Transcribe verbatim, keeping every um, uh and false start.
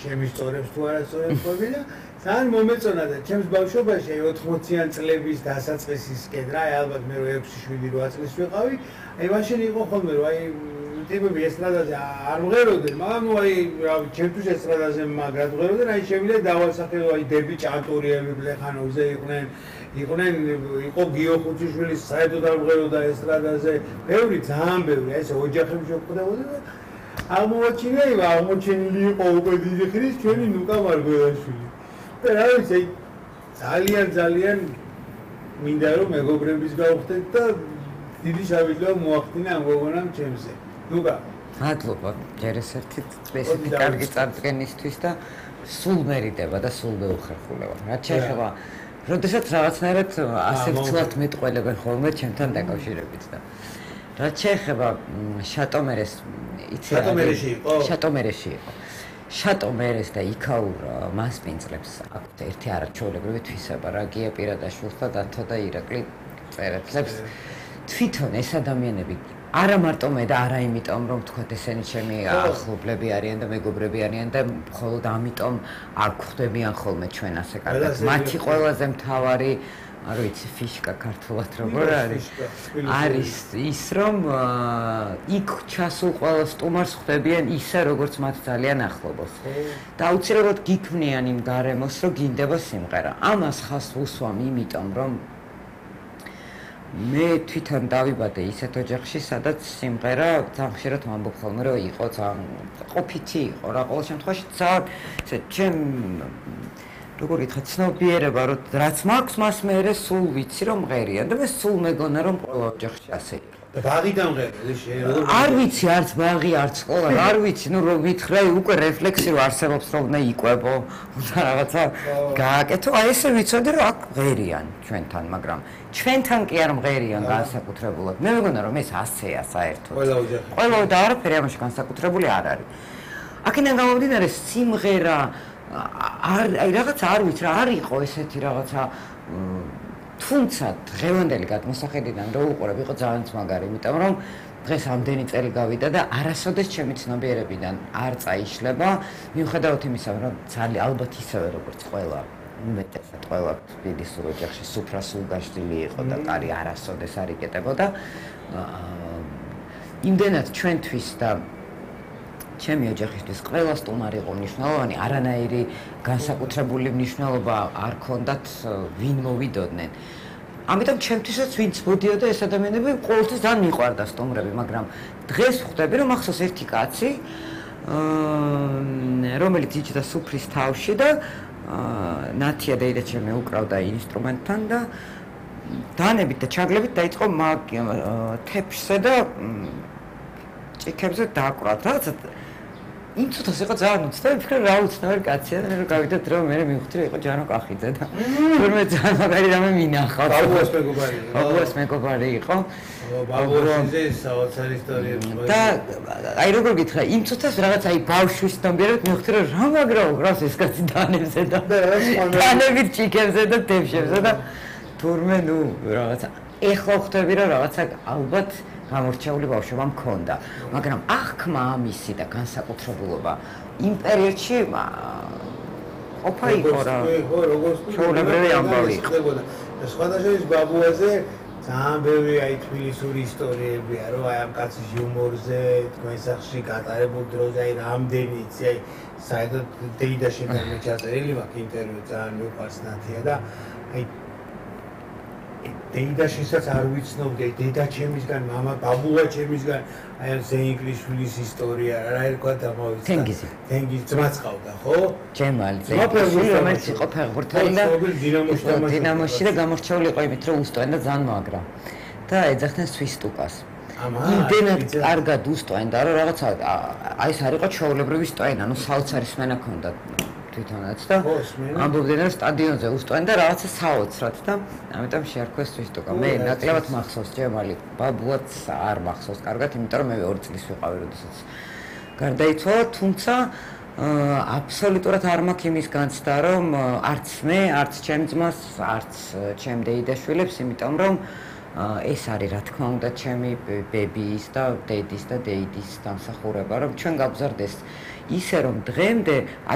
შემისწორებს თუ არა სწორებს ყოფილი და ძალიან მომეწონა და ჩემს ბავშვობაში ოთხმოციან წლების დასაწყისისკენ რა ალბათ მე ექვსი შვიდი რვა წლის ვიყავი აი მაშინ იყო ხოლმე რომ აი ტიპები ესტრადაზე არ მღეროდნენ მაგრამ ნუ აი რა ჩემთვის ესტრადაზე მაგრად მღეროდნენ აი შემიძლია დავასახელო აი დები ჭანტურიები ბლეხანოვზე იყვნენ იყვნენ იყო გიო ხუციშვილის საერთოდ არ მღეროდა ესტრადაზე ბევრი ძალიან ბევრი აი ეს ოჯახები შეხვდებოდა და აღმოჩინა ივა აღმოჩენილი იყო უკვე დიდი ხნის ჩვენი ნუკა მარგველაშვილი და რა ვიცი აი ძალიან ძალიან მინდა რომ მეგობრების გავხდეთ და დიდი შავიდლო მოახდინა ამ გოგონამ ჩემზე ნუკა მადლობა ჯერ ესეთი ესეთი კარგი წარდგენისთვის და სულ მერიდება და სულ მეუხერხულება რაც შეეხება როდესაც რაღაცნაირად ასე ვცვლად მეტყველებენ ხოლმე ჩემთან დაკავშირებით და რაც შეეხება შატომერეს იცი შატომერეში იყო შატომერეში იყო შატომერეს და იქაურ მასპინძლებს აქვთ ერთი არაჩვეულებრივი თვისება რა გია პირადაშვილს და დათო და ირაკლი წერეთლებს თვითონ ეს ადამიანები არა მარტო მე და არა იმიტომ რომ თქვათ ესენი ჩემი ახლობლები არიან და მეგობრები არიან და მხოლოდ ამიტომ არ გვხვდებიან ხოლმე ჩვენ ასე კარგად მათი ყველაზე მთავარი არ ვიცი ფიშკა ქართულად როგორ არის არის ის რომ იქ ჩასულ ყველა სტუმარს ხვდებიან ისე როგორც მათ ძალიან ახლობოს და აუცილებლად გიქმნიან იმ გარემოს რომ გინდება სიმღერა ამას ხას უსვამ იმიტომ რომ მე თვითონ დავიბადე ისეთ ოჯახში სადაც სიმღერა ძალიან ხშირად ვამბობ ხოლმე რომ იყო ძალიან ყოფითი იყო რა ყოველ შემთხვევაში ძალიან ესე ჩემ როგორ ითქვა ცნობიერება რომ რაც მაქვს მას მე სულ ვიცი რომ მღერიან და მე სულ მეგონა რომ ყველა ოჯახში ასე იყო და ბაღი დამღერე შე არ ვიცი არც ბაღი არც სკოლა არ ვიცი ნუ რომ ვითხრა უკვე რეფლექსი რომ არსებობს რომ უნდა იყვებო და რაღაცა გააკეთო აი ესე ვიცოდი რომ აქ მღერიან ჩვენთან მაგრამ ჩვენთან კი არ მღერიან განსაკუთრებულად მე მეგონა რომ ეს ასეა საერთოდ ყველა ოჯახი ყველა და არაფერი ამაში განსაკუთრებული არ არის აქედან გამომდინარე სიმღერა არ აი რაღაც არ ვიცი რა არ იყო ესეთი რაღაცა თუმცა დღევანდელი გადმოსახედიდან რო უყურებ იყო ძალიან მაგარი იმიტომ რომ დღეს ამდენი წელი გავიდა და არასოდეს ჩემი ცნობიერებიდან არ წაიშლება მიუხედავად იმისა რომ ძალიან ალბათ ისევე როგორც ყველა უმეტესად ყველა თბილისურ ოჯახში სუფრასულ გაშლილი იყო და კარი არასოდეს არ იკეტებოდა იმდენად ჩვენთვის და ჩემი ოჯახისთვის ყველა სტუმარი იყო მნიშვნელოვანი არანაირი განსაკუთრებული მნიშვნელობა არ ქონდათ ვინ მოვიდოდნენ ამიტომ ჩემთვისაც ვინც მოდიოდა ეს ადამიანები ყოველთვის ძალიან მიყვარდა სტუმრები მაგრამ დღეს ხვდები რომ ახსოვს ერთი კაცი რომელიც იჯდა სუფრის თავში და ნათია დეიდა ჩემი უკრავდა ინსტრუმენტთან და დანებით და ჩაგლებით დაიწყო თეფშზე და ჭიქებზე დააკვრათ რაღაცა იმ ცოტას იყო ძალიან უცნაური ვფიქრე რა უცნაური კაცია და მე გავიდეთ რომ მე მივხვდი რომ იყო ჯანო კახიძე და თორმეტ ძალიან მაგარი რამე მინახავ ბაბუას მეგობარი ბაბუას მეგობარი იყო ბაბუასიზე საოცარი ისტორიები და აი როგორ გითხრა იმ ცოტას რაღაც აი ბავშვის დამბერად მივხვდი რომ რა მაგრაო გრავს ეს კაცი დანებზე და დანებით ჭიქებზე და თეფშებზე და თორმე ნუ რაღაცა ეხლა ხვდები რომ რაღაცა ალბათ გამორჩეული ბავშვობა მქონდა, მაგრამ აღქმა ამისი და განსაკუთრებულობა იმ პერიოდში ყოფა იყო რა. ჩვეულებრივი ამბავი იყო. სხვადასხვა ბაბუაზე ძალიან ბევრი აი თბილისური ისტორიებია, რომ აი ამ კაცის იუმორზე, თქვენ სახში გატარებულ დროზე აი რამდენი იცი აი საერთოდ დეიდაშიდან მეჩაწერილი მაქვს ინტერვიუ ძალიან მიყვარს ნათია და აი დეიდაშისაც არ ვიცნობდი, დედა ჩემისგან, მამა ბაბუა ჩემისგან, აი ამ ზეინგლიშვილის ისტორია, რა ერქვა დამოვიწყდა. თენგიზი. თენგიზი ძმაც ყავდა, ხო? ჯემალი ზეინგლიშვილი, რომელიც იყო ფეხბურთელი და დინამოში და გამორჩეული იყო იმით, რომ უსტოენ და ძალიან მაგრა. და ეძახდნენ სვისტუკას. იმდენად კარგად უსტოენ და რომ რაღაცა აი ეს არ იყო ჩვეულებრივი სტოენა, ანუ საოცარი სმენა ჰქონდა. თვითონაც და ამბობდნენ რომ სტადიონზე უსტოენ და რაღაცა საოცრად და ამიტომ შეარქვეს სვისტუკა. მე ნაკლებად მახსოვს ჯემალი, ბაბუაც არ მახსოვს კარგად, იმიტომ რომ მე ორი წლის ვიყავი, როდესაც გარდაიცვალა, თუმცა აბსოლუტურად არ მაქვს იმის განცდა, რომ არც მე, არც ჩემ ძმას, არც ჩემ დეიდაშვილებს, იმიტომ რომ ეს არის რა თქმა უნდა ჩემი ბებიის და დედის და დეიდის დამსახურება, რომ ჩვენ გავგზარდეს ისე რომ დღემდე